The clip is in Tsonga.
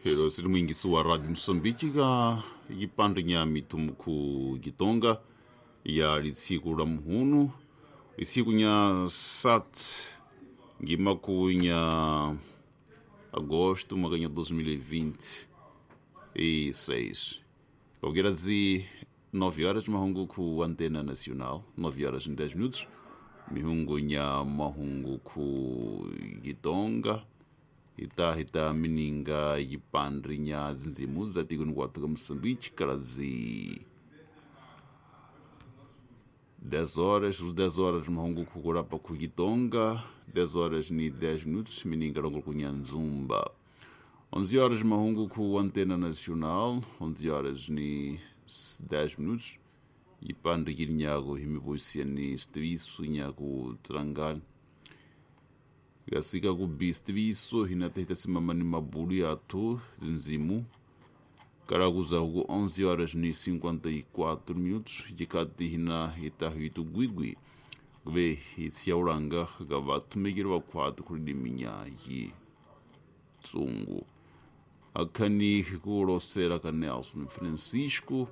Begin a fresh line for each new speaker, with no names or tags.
Hilo sili mwingisi wa Radio Msumbiji ka yipande nya mitumku Gitonga ya litsiku la muhunu isiku nya sat ngimaku nya agosto mwaka nya 2026 Kaukera dzi 9 horas mahungu ku Antena Nacional, 9 horas e 10 minutos mihungu nya mahungu ku Gitonga ita hita mininga yipandri nya dzindzimu dza tiko nikwatu ka Moçambique kala dzi 10 horas, os 10 horas mahungu kukurapa ku Gitonga, 10 horas ni 10 minutos mininga longo ku Nyanzumba. 11 horas mahungu ku Antena Nacional, 11 horas ni 10 minutos yipandri kilinyago himibusia ni stivisu nyaku Trangani. Gasika ku bistiviso hinatehita simama ni mabulu yathu nzimu karakuza ku 11 horas ni 54 minutos jikati hina hitahitu gwigwi kube isiaulanga ga vatumikiri vakhwatu khuliliminya yi tsungu akhani kulosela ka Nelson Francisco.